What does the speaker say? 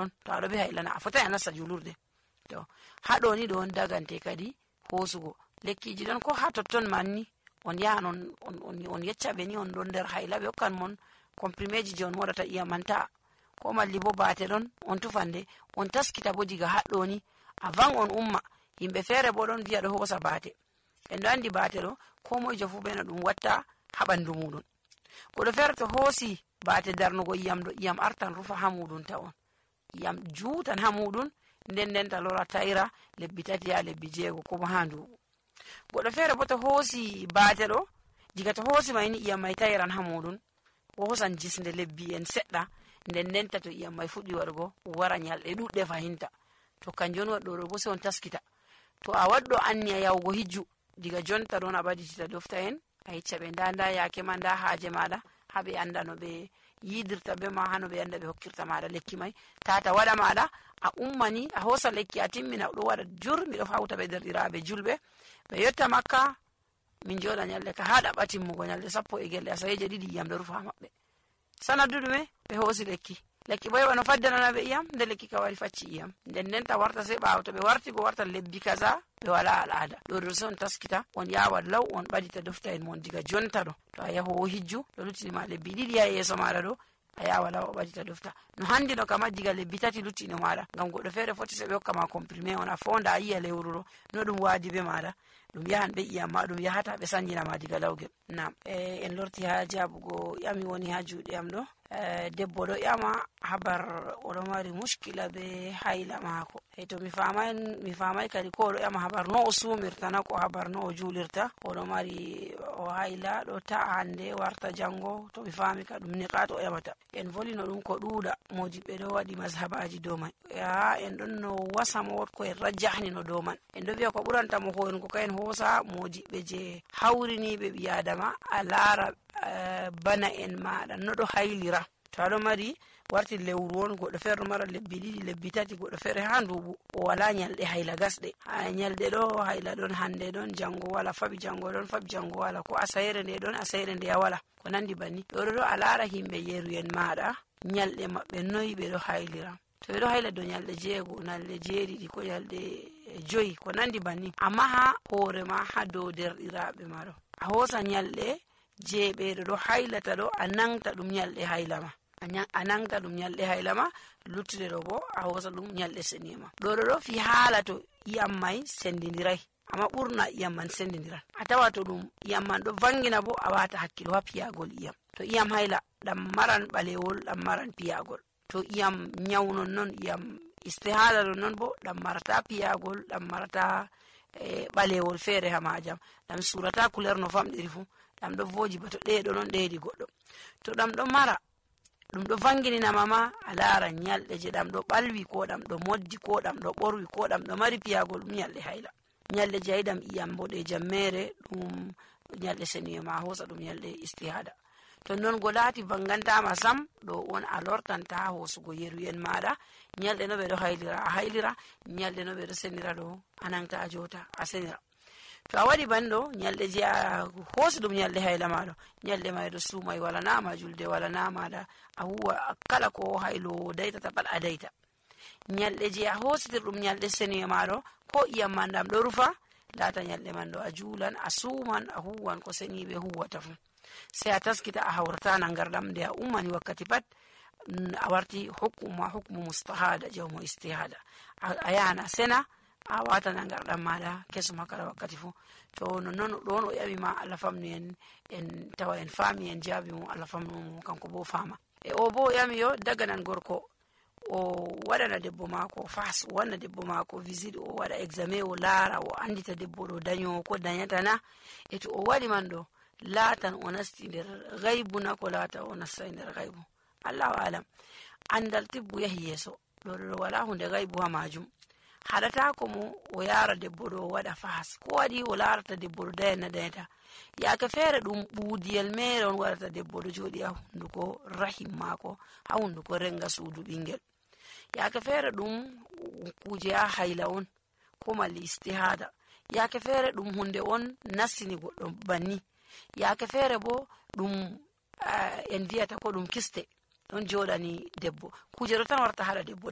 ɗon to aɗo be haila na a fotai a nasta julurde. To haɗo ni ɗon dagante kadi hosugo lekkiji ɗon ko ha totton manni on yahan on yecca ɓe ni on ɗon nder haila ɓe hokkan mon comprimeji je on moɗata iyam man ta'a, ko malli bo bate ɗon on tufande on taskita bo diga haɗɗo ni a van on umma. Himɓe fere bo ɗon viya ɗo hosa bate, en ɗo andi bate ɗo ko moijo fu be no ɗum watta ha ɓandu muɗum. Goɗɗo fere to hosi bate darnugo iyam ɗo, iyam artan rufa ha muɗum ta on, iyam juutan ha muɗum, nden ta lora taira lebbi 3 ha lebbi 6 ko ha nduɓu. Goɗɗo fere bo to hosi bate ɗo, diga to hosi mai ni iyam mai tairan ha muɗum, o hosan jisnde lebbi en seɗɗa, nden ta to iyam mai fuɗɗi waɗugo wara nyalɗe ɗuɗɗe fahinta. To kanjum on waɗɗo ɗo bo sai on taskita. To a waɗɗo anniya yahugo hijju, diga jonta ɗon a ɓaditita dofta en a yecca ɓe nda yake ma, nda haaje maɗa, ha ɓe anda no ɓe yidirta be ma, hano ɓe anda ɓe hokkirta maɗa lekki mai. Tata waɗa maɗa a ummani a hosa lekki a timmina ɗo waɗa jur, miɗo hauta ɓe derɗiraɓe julɓe ɓe yotta makka min joɗa nyalde ka ha ɗaɓɓa timmugo nyalde 10 asaweje 2 iyam ɗo rufa maɓɓe. Sanadu ɗume ɓe hosi lekki bo heɓa no faddanana ɓe iyam, nde lekki ka wari facci iyam, nden ta warta sai ɓawo to ɓe warti bo warta lebbi kaza ɓe wala al'ada. ɗo sai on taskita on yawa law on ɓadita dofta en mon diga jonta ɗo. To a yahowo hijju ɗo luttinima lebbi 2 ha yeso maɗa ɗo, a yawa law o ɓadita dofta no handi no kama diga lebbi 3 luttino maɗa, ngam goɗɗo fere foti sai ɓe hokkama comprimé on a fonda a yiya lewru ɗo no ɗum wadi be maɗa, ɗum yahan be iyam ma, ɗum yahata ɓe sanjinama diga lawgel. Nam en lorti ha jabugo ƴami woni ha juuɗe am ɗo. Debbo ɗo ƴama habar oɗo mari muskila be haila mako. To mi famai kadi ko oɗo ƴama habar no o sumirta na ko habar no o julirta. Oɗo mari o haila ɗo ta'a hande warta jango, to mi fami ka ɗum niqat o ƴamata. En volino ɗum ko ɗuuɗa, modiɓɓe ɗo waɗi mazhabaji dow man. En ɗon no wasamo ko en rajjahni no dow man. En ɗo wiya ko ɓuranta mo hoynugo ka en hosa modiɓɓe je hawriniɓe ɓi adama a laara bana en maɗa no ɗo hailira. To aɗo mari warti lewru on, goɗɗo fere ɗo mara lebbi 2 lebbi 3, goɗɗo fere ha nduɓu o wala nyalɗe haila gasɗe. Nyalɗe ɗo haila ɗon hande ɗon jango wala, faɓi jango ɗon faɓi jango wala, ko asayre nde ɗon asayre nde wala, ko nandi banni. ɗo a lara himɓe yeruyen maɗa nyalɗe maɓɓe noyi ɓe ɗo hailira. To ɓe ɗo haila dow nyalɗe 6, nyalɗe 7 ko nyalɗe 5 ko nandi banni, amma ha hoore ma ha dow derɗiraɓe ma ɗo a hosa nyalɗe je ɓeɗo ɗo hailata ɗo a nangta ɗum nyalɗe hailama, a nangta ɗum nyalɗe hailama, luttude ɗo bo a hosa ɗum nyalɗe seniyama. ɗo fi haala to iyam mai sendidirai, amma ɓurna iyam man sendidiran. A tawa to ɗum iyam man ɗo vangina bo a wata hakkilo ha piyagol iyam. To iyam haila ɗam maran ɓalewol, ɗam maran piyagol. To iyam nyaunon non, iyam istihada ɗon non bo ɗam marata piyagol, ɗam marata ɓalewol fere ha majam, ɗam surata couleur no famɗiri fu, ɗam ɗo voji ba to ɗeɗo non ɗeɗi goɗɗo. To ɗam ɗo mara ɗum ɗo vangininama ma a lara nyalɗe je ɗam ɗo ɓalwi, ko ɗam ɗo moddi, ko ɗam ɗo ɓorwi, ko ɗam ɗo mari piyagol, ɗum nyalɗe haila. Nyalɗe je yiɗam iyam boɗejam mere ɗum nyalɗe seniyama hosa ɗum nyalɗe istihada. To non go laati vangantama sam, ɗo on a lortanta ha hosugo yeruyen maɗa. Nyalɗe no ɓe ɗo hailira a hailira, nyalɗe no ɓe ɗo senira ɗo a nangta a jota a senira. To a waɗi banɗo nyalɗe je a hosi ɗum nyalɗe haila maɗo, nyalɗe mai ɗo sumai, wala nama julde, wala namaɗa a huwa kala ko hailo daitata pat a daita. Nyalɗe je a hositir ɗum nyalɗe seniye maɗo, ko iyam man ɗam ɗo rufa, lata nyalɗe man ɗo a julan a suman a huwan ko seniɓe huwata fu. Sai a taskita a hawrata nangarɗam nde a ummani wakkati pat a warti hukmu mustahada jawmo istihada. A yahan a sena a wata nangarɗam maɗa kesum ha kala wakkati fu. To non ɗon o ƴami ma Allah famnu en tawa en fami en jaabi mo, Allah famnu mo kanko bo fama. O bo ƴami yo daga nan gorko o waɗana debbo mako fas, o wanna debbo mako visite, o waɗa examen, o laara o andita debbo ɗo dañowo ko dañatana. To o waɗi man ɗo laatan o nasti nder gaybu na ko laata o nastai nder gaybu, Allahu alam. Andal tibbu yahi yeso, ɗo wala hunde gaybu ha majum. haɗata mo o yara debbo ɗo o waɗa fas, ko waɗi o larata debbo ɗo dayanata yake feere ɗum ɓuudiyel mere on waɗata debbo ɗo joɗi ha hunduko rahim mako, ha hunduko renga suudu ɓingel. yake feere ɗum kuje ha hayla on ko malli istihada, yake feere ɗum hunde on nassini goɗɗo banni, yake feere bo ɗum en viyata ko ɗum kiste ɗon joɗani debbo, kuje ɗo tan warta haɗa debbo